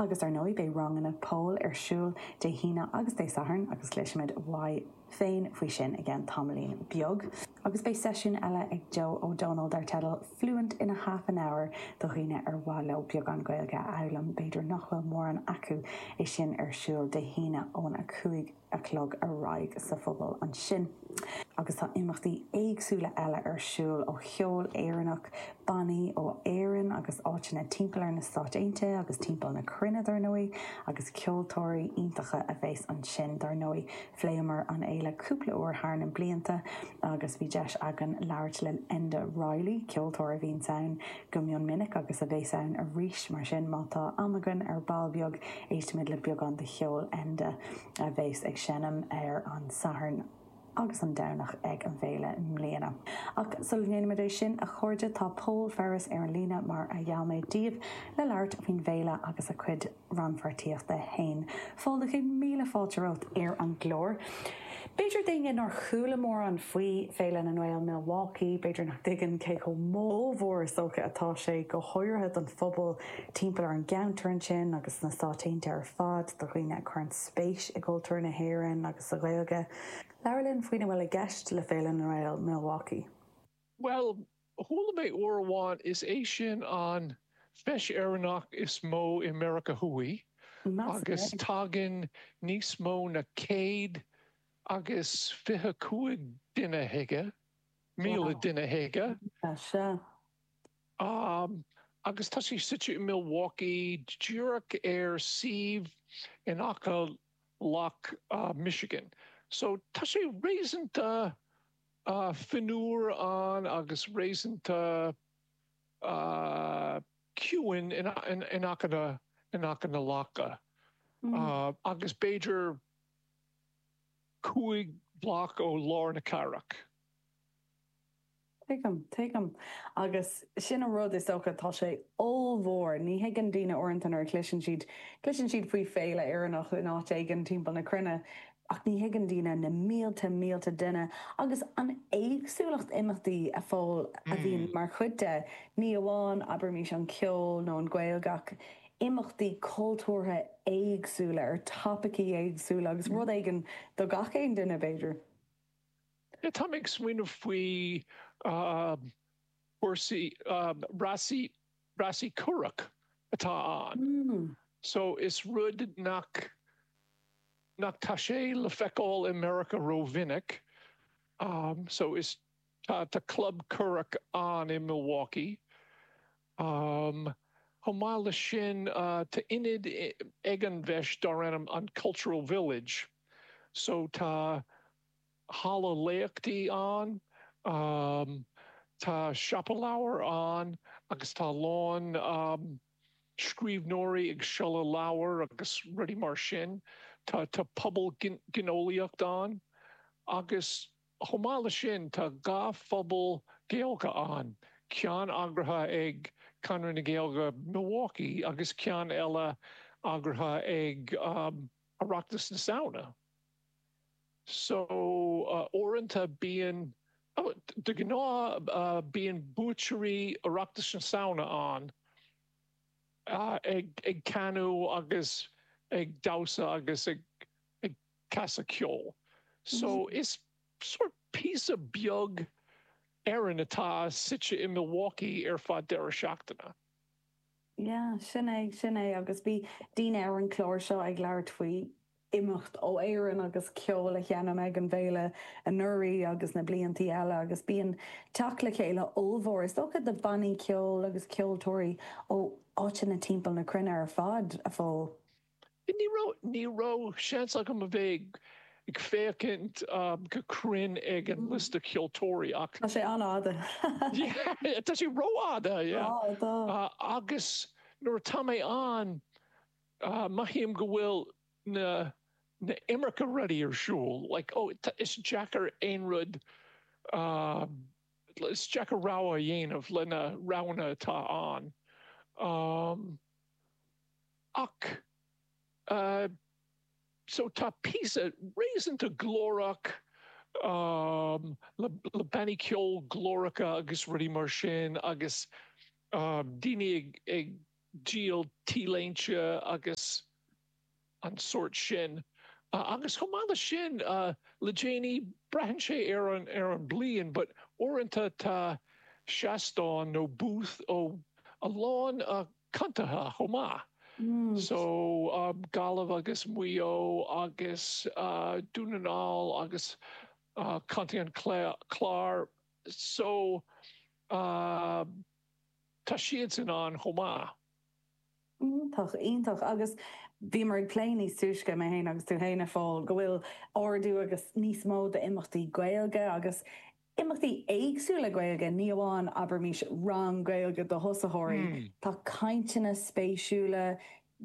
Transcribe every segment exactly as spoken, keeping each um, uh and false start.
Agus ar ndóigh beidh ranganna Pól ar siúl Dé hAoine agus Dé Sathairn agus cloisfimid uaidh féin faoi sin i gceann tamaillín beag. Agus beidh seisiún eile ag Joe Ó Dónaill dar teideal Fluent in a half an hour do dhaoine ar mhaith leo beagán Gaeilge a fhoghlaim, b'fhéidir nach bhfuil mórán acu é sin ar siúl Dé hAoine ón a cúig a chlog ar aghaidh sa phuball ansin. Agus tá imeachtaí éagsúla eile ar siúl ó cheol Éireannach, bannaí ó Éirinn agus áiteanna timpeall ar na Stáit Aontaithe agus timpeall na cruinne dar ndóigh, agus ceoltóirí iontacha a bheas ansin dar ndóigh. Phléamar an fhéile cúpla uair thar na blianta agus bhí deis againn labhairt le Enda Reilly, ceoltóir a bhíonns ann go mion minic agus a bheas ann arís mar sin má tá am againn ar ball beag éistfimid le beagán de cheol Enda a bheas ag seinm ar an Satharn agus an Domhnach ag an bhféile i mbliana. Ach sula ndéanaimid é sin a chairde tá Pól Ferris ar an líne mar a gheall mé daoibh le labhairt faoin bhféile agus a chuid rannpháirtíochta féin. Phóil céad míle fáilte romhat ar an gclár. B'fhéidir daoine nár chuala mórán faoi Féile na nGael Milwaukee, b'fhéidir nach dtuigeann cé chomh mór is dócha atá sé go háirithe don phobal timpeall ar an gceantar ansin agus na Stáit Aontaithe ar fad do dhaoine a chuireann spéis i gcultúr na hÉireann agus sa Ghaeilge. Labhair linn faoina bhfuil i gceist le Féile na nGael Milwaukee. Well, chuala mé uair amháin is é sin an feis Éireannach is mó i Meiriceá Thuaidh agus tagann níos mó ná céad agus fiche cúig duine chuige, míle duine chuige. Se. Um, agus tá sé suite i Milwaukee díreach ar suíomh in aice Loch uh, Michigan. So tá sé réasúnta uh, fionnuar ann agus réasúnta uh, ciúin in, in, in aice na, in aice na locha. Mm. Uh, agus b'fhéidir cúig bloc ó lár na cathrach. Tuigim, tuigim. Agus sin an rud is dócha tá sé ollmhór, ní thuigeann daoine uaireanta nuair a chloiseann siad cloiseann siad faoi féile Éireannach in áit éigin timpeall na cruinne, ach ní thuigeann daoine na mílte mílte duine agus an éagsúlacht imeachtaí a Phóil a bhíonn mm. mar chuid de ní amháin abraimis an ceol nó an Ghaeilge ach imeachtaí cultúrtha éagsúla ar topaicí éagsúla agus rud éigin do gach aon duine b'fhéidir. Tá ag smaoineamh faoi cúrsaí rásaí rásaí curach atá ann. Mm. So is rud nach nach tá sé le feiceáil i Meiriceá rómhinic. Um, so is tá tá club curach ann i Milwaukee. Um, Chomh maith le sin uh, tá ionad ag an bhfeis dar ainm an Cultural Village. So tá halla léachtaí ann, um, tá siopa leabhar ann agus tá lán um, scríbhneoirí ag seoladh leabhar agus rudaí mar sin, tá tá puball gineolaíocht ann agus chomh maith le sin tá dhá phuball Gaeilge ann, ceann eagraithe ag Conradh na Gaeilge Milwaukee agus ceann eile eagraithe ag um, Oireachtas na Samhna. So uh, uaireanta bíonn oh, de ghnáth uh, bíonn buaiteoirí Oireachtas na Samhna ann uh, ag, ag canadh agus ag damhsa agus ag, ag casadh ceol. So mm -hmm. is sort píosa beag Éireann atá suite i Milwaukee ar fad deireadh seachtaine. Yeah, sin é sin é agus bhí daoine ar an chlár seo ag labhairt faoi imeacht ó Éirinn agus ceol a sheinm ag an bhféile anuraidh agus na bliantaí eile agus bíonn teacht le chéile ollmhór is dócha de bannaí ceoil agus ceoltóirí ó áiteanna timpeall na cruinne ar fad a Phóil. Ní raibh ní raibh seans agam a bheith ag féachaint um, go cruinn ag an liosta ceoltóirí ach Tá sé an-fhada. Tá sé rófhada uh, agus nuair tá mé ann uh, mothaím go bhfuil na na iomarca rudaí ar siúl like oh is deacair aon rud uh, is deacair rogha a dhéanamh le na roghanna atá ann um, ach uh, so tá píosa réasúnta glórach um, le, le bannaí ceoil glóracha agus rudaí mar sin agus um, daoine ag, ag díol T-léinte agus an sórt sin. Agus chomh maith leis sin, le déanaí, braitheann sé ar an ar an bliain, but uaireanta tá seastán nó booth ó a lán contaetha chomh maith. So Gaillimh agus Maigh Eo agus Dún na nGall agus Contae an Chláir. So tá siadsan ann chomh maith. Iontach, iontach. Agus bhíomar ag plé níos túisce, mé féin agus tú féin, a Phóil, go bhfuil ardú agus níos mó d'imeachtaí Gaeilge agus imeachtaí éagsúla Gaeilge, ní amháin, abraimis, rang Gaeilge do thosaitheoirí. Tá cainteanna spéisiúla,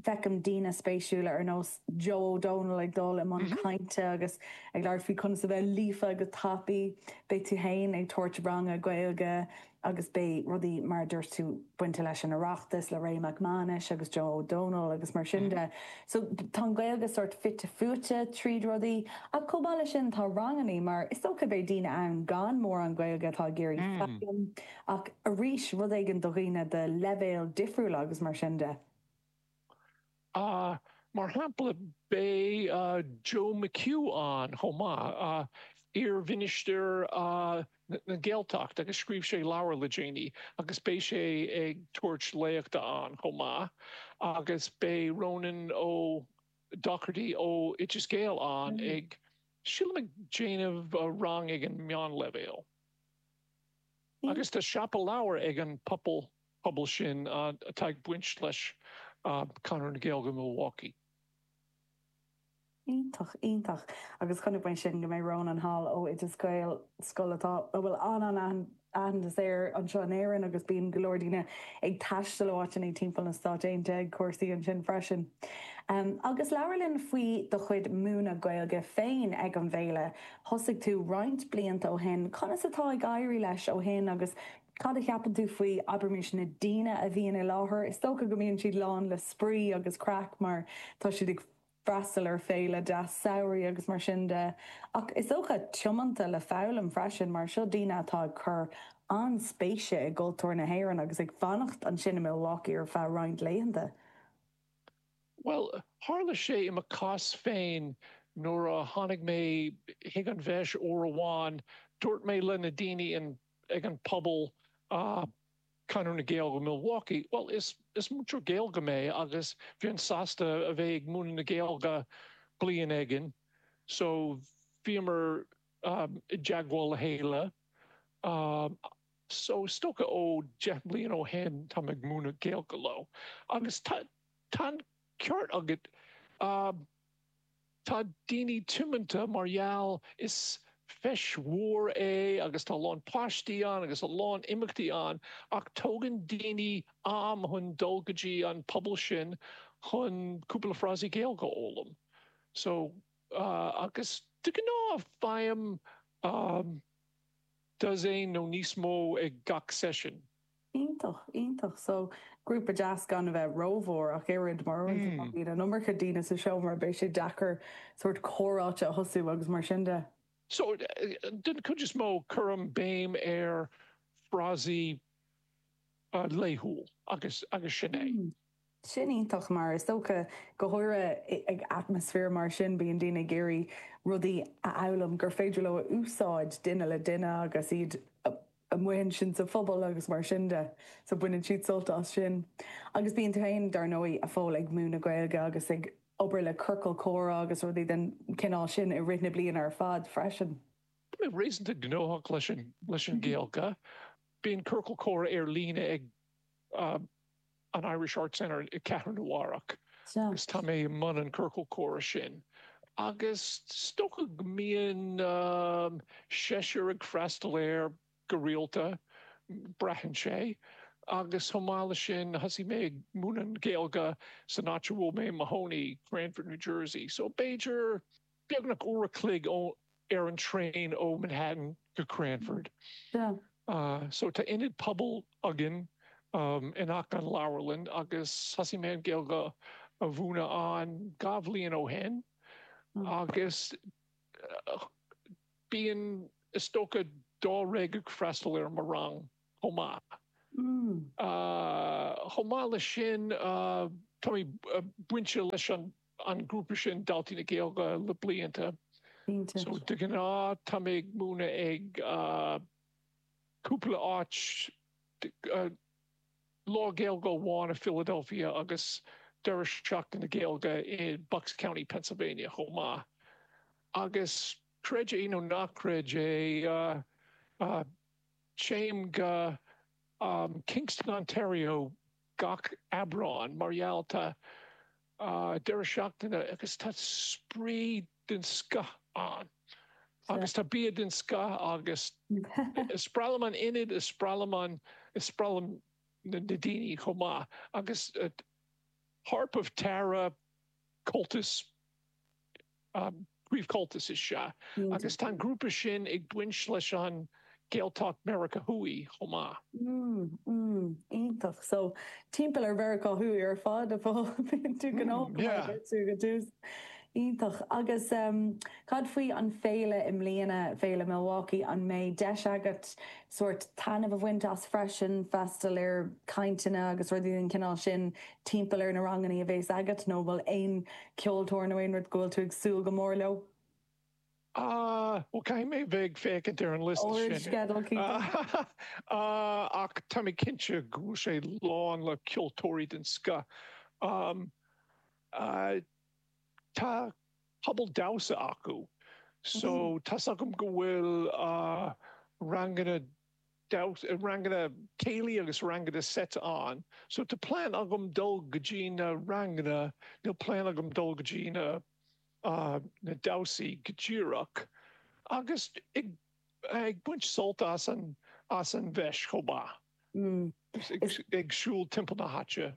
feicim daoine spéisiúla ar nós Joe O'Donnell ag dul i mbun cainte agus ag labhairt faoi conas a bheith líofa go tapaidh. Beidh tú féin ag tabhairt ranga Gaeilge agus beidh rudaí mar a dúirt tú bainte leis an Oireachtas le Ray Mac Mánais agus Joe O'Donnell agus mar sin de. So tá an Ghaeilge sort fite fuaite tríd rudaí ach chomh maith leis sin tá rangannaí mar is dócha beidh daoine ann gan mórán Gaeilge atá ag iarraidh foghlaim ach arís rud éigin do dhaoine de leibhéal difriúla agus mar sin de. Uh, mar shampla beidh uh, Joe McHugh ann chomh maith, uh, iar-mhinistir uh, na Gaeltacht agus scríobh sé leabhar le déanaí agus beidh sé ag tabhairt léachta ann chomh maith agus beidh Ronan Ó Dochartaigh ó Oideas Gael ann mm. ag sílim ag déanamh rang ag an meánleibhéal. Mm. Agus tá siopa leabhar ag an pobal pobal sin uh, atá ag baint leis uh, Conradh na Gaeilge Milwaukee. Iontach iontach agus chonaic mé sin go mbeidh Ronan thall ó Oideas Gael scoil atá a bhfuil an an-aitheantas air anseo in Éirinn agus bíonn go leor daoine ag taisteal ó áiteanna timpeall na Stáit Aontaithe ag cúrsaí ansin freisin. Um, agus labhair linn faoi do chuid múineadh Gaeilge féin ag an bhféile. Thosaigh tú roinnt blianta ó shin, conas atá ag éirí leis ó shin agus cad a cheapann tú faoi abraimis na daoine a bhíonn i láthair, Is dócha go mbíonn siad lán le spraoi agus craic mar tá siad ag freastal ar féile deas samhraidh agus mar sin de. Ach is dócha tiomanta le foghlaim freisin mar seo daoine atá ag cur an-spéise i gcultúr na hÉireann agus ag fanacht ansin i Milwaukee ar feadh roinnt laethanta. Well, tharla sé i mo chás féin nuair a tháinig mé chuig an bhfeis uair amháin, dúirt mé le na daoine in ag an pobal uh, Conradh na Gaeilge Milwaukee, well is is múinteoir Gaeilge mé agus bheinn sásta a bheith ag múineadh na Gaeilge bliain éigin, so bhíomar um, i dteagmháil le chéile. Um, so is dócha ó deich mbliana ó shin tá ag múineadh Gaeilge leo. Agus tá an ceart agat um, tá daoine tiomanta mar gheall is feis mhór é agus tá a lán páistí ann agus a lán imeachtaí ann ach tógann daoine am chun dul go dtí an pobal sin chun cúpla frásaí Gaeilge a fhoghlaim. So uh, agus de ghnáth faighim um, dosaen nó níos mó ag gach seisiún. Iontach, iontach. So grúpa deas gan a bheith rómhór ach oiread mar mm. an iomarca daoine sa seomra beidh sé deacair sort comhráite a thosú agus mar sin de. So den chuid is mó cuirim béim ar frásaí uh, laethúil agus agus sin é. Mm. Sin iontach mar is dócha go háirithe ag atmaisféar mar sin bíonn daoine ag iarraidh rudaí a fhoghlaim gur féidir leo a úsáid duine le duine agus iad amuigh ansin sa phobal agus mar sin de so baineann siad sult as sin. Agus bíonn tú féin dar ndóigh a Phóil ag múineadh Gaeilge agus ag obair le ciorcal comhrá agus rudaí den cineál sin i rith na bliana ar fad freisin. Tá mé réasúnta gnóthach leis an leis an Ghaeilge. Bíonn ciorcal comhrá ar líne ag uh, an Irish Arts Center i Cathair Nua-Eabhrac. Agus tá mé i mbun an ciorcal comhrá sin. Agus is dócha go mbíonn um, seisear ag freastal air go rialta braitheann sé. Agus chomh maith leis sin thosaigh mé ag múineadh Gaeilge san áit a bhfuil mé i mo chónaí, Cranford, New Jersey. So b'fhéidir beagnach uair a chloig ar an traein ó Manhattan go Cranford. Yeah. Uh, so tá ionad pobail againn um, in aice an leabharlann agus thosaigh mé an Ghaeilge a mhúineadh ann dhá bhliain ó shin Mm. agus uh, bíonn is dócha dáréag ag freastal ar mo rang chomh maith. Chomh maith leis sin, tá mé bainte leis an grúpa sin, Daltaí na Gaeilge, le blianta. So de ghnáth tá mé ag múineadh ag cúpla áit, Lá Gaeilge amháin i Philadelphia agus deireadh seachtaine Gaeilge i Bucks County, Pennsylvania chomh maith. Agus creid é nó ná creid é, téim go Kingston, Ontario gach Aibreán mar gheall tá deireadh seachtaine agus tá spraoi den scoth ann agus tá bia den scoth agus is breá liom an ionad, is breá liom an, is breá liom na daoine chomh maith agus Harp of Tara Comhaltas Príomh-Chomhaltas is ea agus tá an grúpa sin ag baint leis an Gaeltacht Meiriceá Thuaidh chomh maith. Mm, mm, iontach. So, timpeall ar Mheiriceá Thuaidh ar fad a Phóil, bíonn tú gnóthach mar a deir tú go dtús. Iontach. Agus cad faoi an féile i mbliana, Féile Milwaukee, an mbeidh deis agat sórt taitneamh a bhaint as freisin, freastal ar cainteanna agus rudaí den chineál sin timpeall ar na ranganna a bhéas agat nó bhfuil aon ceoltóir nó aon rud go bhfuil tú ag súil go mór leo? Ah, bhuel caithfidh mé bheith ag féachaint ar an liosta sin. Ar an sceideal, cinnte. Ach tá mé cinnte go bhfuil sé lán le ceoltóirí den scoth. Tá pobal damhsa acu so tá's agam go bhfuil ranganna damhsa, ranganna céilí agus ranganna seit ann. So tá plean agam dul go dtí na ranganna, níl plean agam dul go dtí na na damhsaí go díreach. Agus ag ag baint sult as an as an bhfeis chomh maith. Ag siúl timpeall na háite.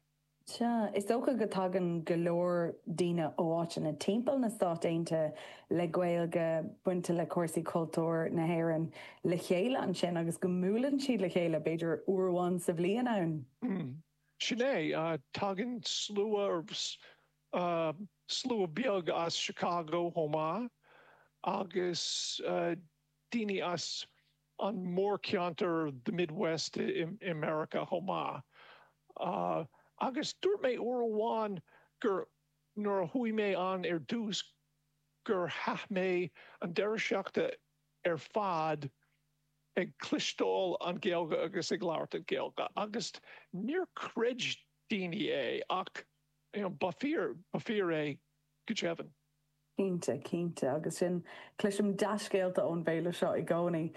Sea, is dócha go dtagann go leor daoine ó áiteanna timpeall na Stát Aontaithe le Gaeilge, bainte le cúrsaí cultúir na hÉireann le chéile ansin agus go mbuaileann siad le chéile, b'fhéidir uair amháin sa bhliain ann. Sin é, tagann slua, slua beag as Chicago chomh maith agus daoine as an mórcheantar the Midwest i Meiriceá chomh maith. Agus dúirt mé uair amháin gur nuair a chuaigh mé ann ar dtús gur chaith mé an deireadh seachtaine ar fad ag cloisteáil an Ghaeilge agus ag labhairt an Ghaeilge agus níor chreid daoine é ach ba fíor, ba fíor é go deimhin. Cinnte, cinnte. Agus sin, cloisim dea-scéalta ón bhféile seo i gcónaí.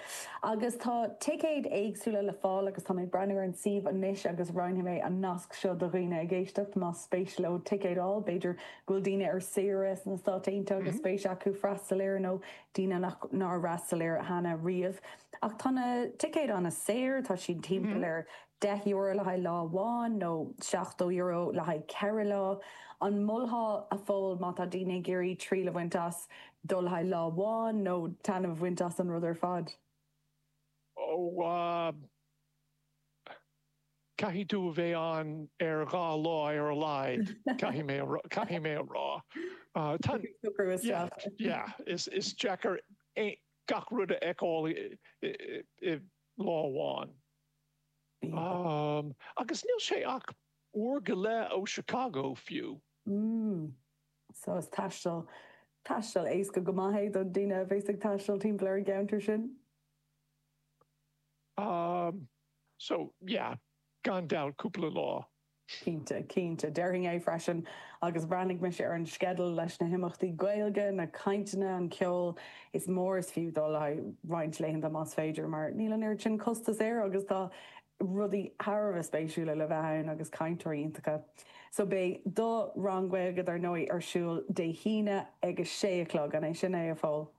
Agus tá ticéid éagsúla le fáil agus tá mé ag breathnú ar an suíomh anois agus roinnfidh mé an nasc seo do dhaoine ag éisteacht más spéis leo ticéad a fháil. B'fhéidir go bhfuil daoine ar saoire sna Stáit Aontaithe agus spéis acu freastal air nó daoine nach nár fhreastail air cheana riamh. Ach tá na ticéid an-saor, tá siad timpeall ar deich euro le haghaidh lá amháin nó seachtó euro le haghaidh ceithre lá. An molfá, a Phóil, má tá daoine ag iarraidh triail a bhaint as, dul le haghaidh lá amháin nó taitneamh a bhaint as an rud ar fad? Ó, caithfidh tú a bheith ann ar dhá lá ar a laghad, caithfidh mé, caithfidh mé a rá. Tá, yeah, yeah, is, is deacair gach rud a fheiceáil i lá amháin. Agus níl sé ach uair go leith ó Chicago fiú. Mm. So is taisteal, taisteal éasca go maith é do daoine a bhéas ag taisteal timpeall ar an gceantar sin. Um, so, yeah, gan dabht cúpla lá. Cinnte, cinnte. Déarfainn é freisin. Agus bhreathnaigh mise ar an sceideal leis na himeachtaí Gaeilge, na cainteanna, an ceol. Is mór is fiú dul le haghaidh roinnt laethanta más féidir mar níl an oiread sin costas air agus tá rudaí thar a bheith spéisiúla le bheith ann agus cainteoirí iontacha. So beidh do rang Gaeilge dar ndóigh ar siúl Dé hAoine ag a sé a chlog, an é sin é, a Phóil?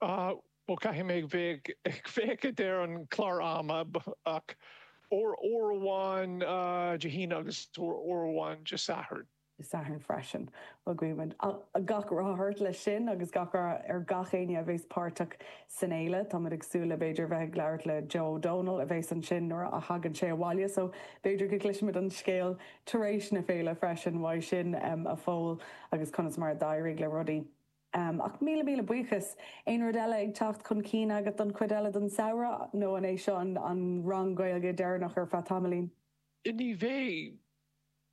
Bhuel, caithfidh mé bheith ag féachaint ar an clár ama ach uair uair amháin Dé hAoine agus uair amháin Dé Sathairn. Dé Sathairn freisin. Bhuel, guímid gach rath ort leis sin agus gach rath ar gach éinne a bhéas páirteach san fhéile. Táimid ag súil le b'fhéidir bheith ag labhairt le Joe Ó Dónaill a bhéas ansin nuair a thagann sé abhaile so b'fhéidir go gcloisfimid an scéal tar éis na féile freisin uaidh sin, a Phóil, agus conas mar a d'éirigh le rudaí. Um, ach míle míle buíochas aon rud eile ag teacht chun cinn agat don chuid eile den samhradh nó an é seo an, an rang Gaeilge deireanach ar feadh tamaillín. Ní bheidh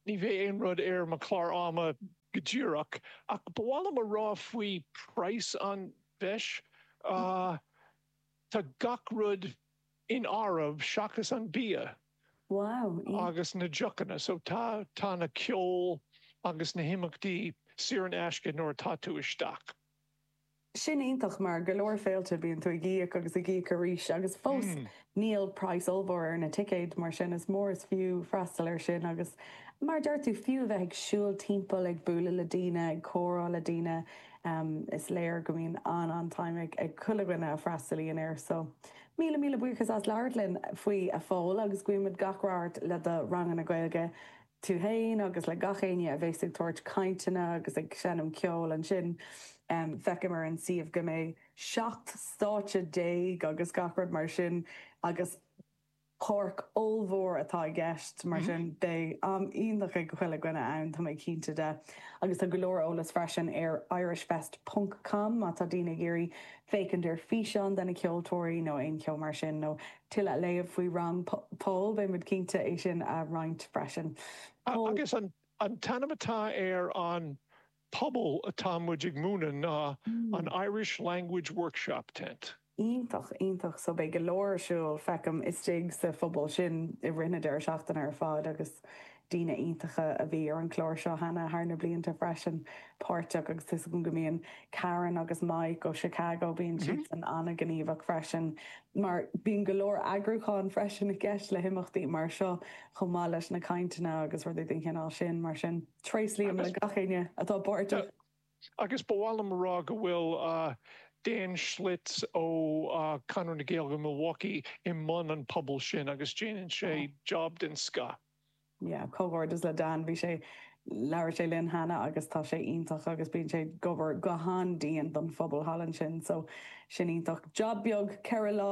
ní bheidh aon rud ar mo chlár ama go díreach ach ba mhaith liom a rá faoi praghas an bhfeis uh, tá gach rud in áireamh seachas an bia. Wow. agus na deochanna, so tá tá na ceol agus na himeachtaí saor in aisce nuair atá tú isteach. Sin iontach mar go leor féilte bíonn tú ag íoc agus ag íoc arís agus fós mm. níl praghas ollmhór ar na ticéid mar sin is mór is fiú freastal ar sin agus mar deir tú fiú bheith ag siúl timpeall ag bualadh le daoine ag comhrá le daoine um, is léir go mbíonn an an-time ag ag chuile dhuine a fhreastalaíonn air so míle míle buíochas as labhairt linn faoi a Phóil agus guímid gach rath le do ranganna Gaeilge tú féin agus le gach éinne a bheas ag tabhairt cainteanna agus ag seinm ceol ansin. Um, feicim ar an suíomh go mbeidh seacht stáitse déag agus gach rud mar sin agus páirc ollmhór atá i gceist mar mm -hmm. sin beidh am iontach ag chuile dhuine ann tá mé cinnte de agus tá go leor eolas freisin ar irishfest.com má tá daoine ag iarraidh féachaint ar físeán de na ceoltóirí nó aon cheo mar sin nó tuilleadh a léamh faoi rang Paul beimid cinnte é sin a roinnt freisin. Agus an an t-ainm atá ar an puball atá muid ag múineadh ná mm. an Irish Language Workshop Tent. Iontach iontach so beidh go leor siúl feicim istigh sa phuball sin i rith na deireadh seachtaine ar fad agus daoine iontacha a bhí ar an chlár seo cheana thar na blianta freisin páirteach agus is go mbíonn Karen agus Mike ó Chicago bíonn siad mm -hmm. an an-ghníomhach freisin mar bíonn go leor eagrúcháin freisin i gceist le himeachtaí mar seo chomh maith leis na cainteanna agus rudaí den chineál sin mar sin tréaslaím le gach éinne atá páirteach. Agus ba mhaith liom rá go bhfuil uh, Dan Schlitz ó uh, Conradh na Gaeilge Milwaukee i mbun an puball sin agus déanann sé job den scoth. Yeah, comhghairdeas le Dan bhí sé labhair sé linn cheana agus tá sé iontach agus bíonn sé ag obair go han-dian don phuball thall ansin so sin iontach. Job beag ceithre lá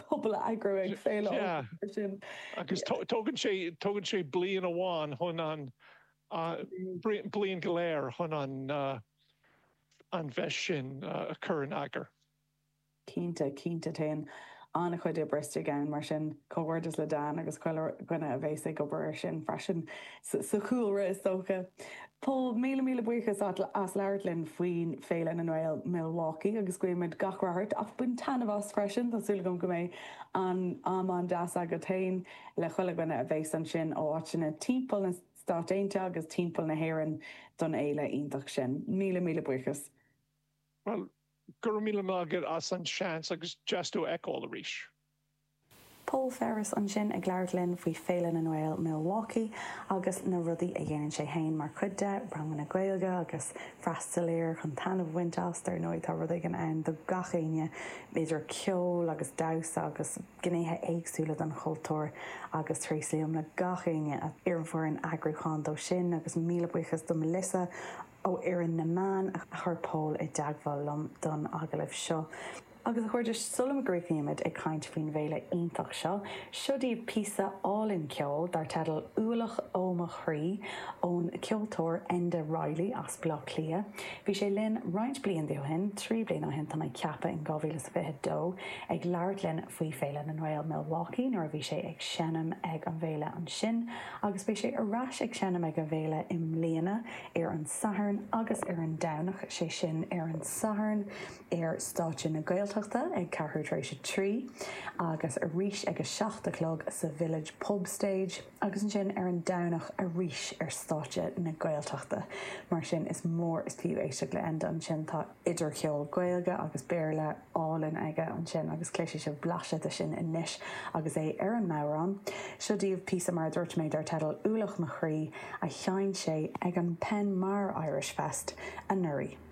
puball a eagrú ag féile sin. Agus tógann sé tógann sé bliain amháin chun an uh, bliain go léir chun an uh, an bheith sin uh, a chur in eagar. Cinnte cinnte téann an-chuid oibre isteach ann mar sin comhghairdeas le Dan agus chuile dhuine a bheas ag obair sin freisin sa chúlra is dócha. Paul míle míle buíochas as labhairt linn faoin Féile na nGael Milwaukee agus guímid gach rath ort ach bain taitneamh as freisin Tá súil agam go mbeidh an am an-deas agat féin le chuile dhuine a bheas ansin ó áiteanna timpeall na Stát Aontaithe agus timpeall na hÉireann don fhéile iontach sin. Míle míle buíochas. Well, go raibh míle maith agat as an seans agus deas tú a fheiceáil arís. Paul Ferris ansin ag labhairt linn faoi Féile na nGael Milwaukee agus na rudaí a dhéanann sé féin mar chuid de ranganna Gaeilge agus freastal air chun taitneamh a bhaint as ar ndóigh tá rud éigin ann do gach éinne idir ceol agus damhsa agus gnéithe éagsúla den chultúr agus tréaslaím le gach éinne ar an bhfoireann eagrúcháin dó sin agus míle buíochas do Melissa ó fhoireann na meán a chuir Paul i dteagmháil liom don agallamh seo. Agus a chairde sula gcríochnaímid ag caint faoin bhféile iontach seo, seo daoibh píosa álainn ceoil dar teideal Ualach ó mo chroí ón ceoltóir Enda Reilly as Baile Átha Cliath. Bhí sé linn roinnt blianta ó shin, trí bliana ó shin tá mé ag ceapadh in dhá mhíle is fiche dó ag labhairt linn faoi Féile na nGael Milwaukee nuair a bhí sé ag seinm ag an bhféile ansin, agus beidh sé ar ais ag seinm ag an bhféile i mbliana ar an Satharn agus ar an Domhnach, sé sin ar an Satharn ar stáitse na Gaeltachta ag ceathrú tar éis a trí agus arís ag a seacht a chlog sa Village Pub Stage agus ansin ar an Domhnach arís ar stáitse na Gaeltachta. Mar sin is mór is fiú éisteacht le Enda ansin tá idir cheol Gaeilge agus Béarla álainn aige ansin agus cloisfidh sibh blaiseadh de sin anois agus é ar an mbodhrán. Seo daoibh píosa mar a dúirt mé dar teideal Ualach mo chroí a sheinn sé ag an Penmar Irish Fest anuraidh.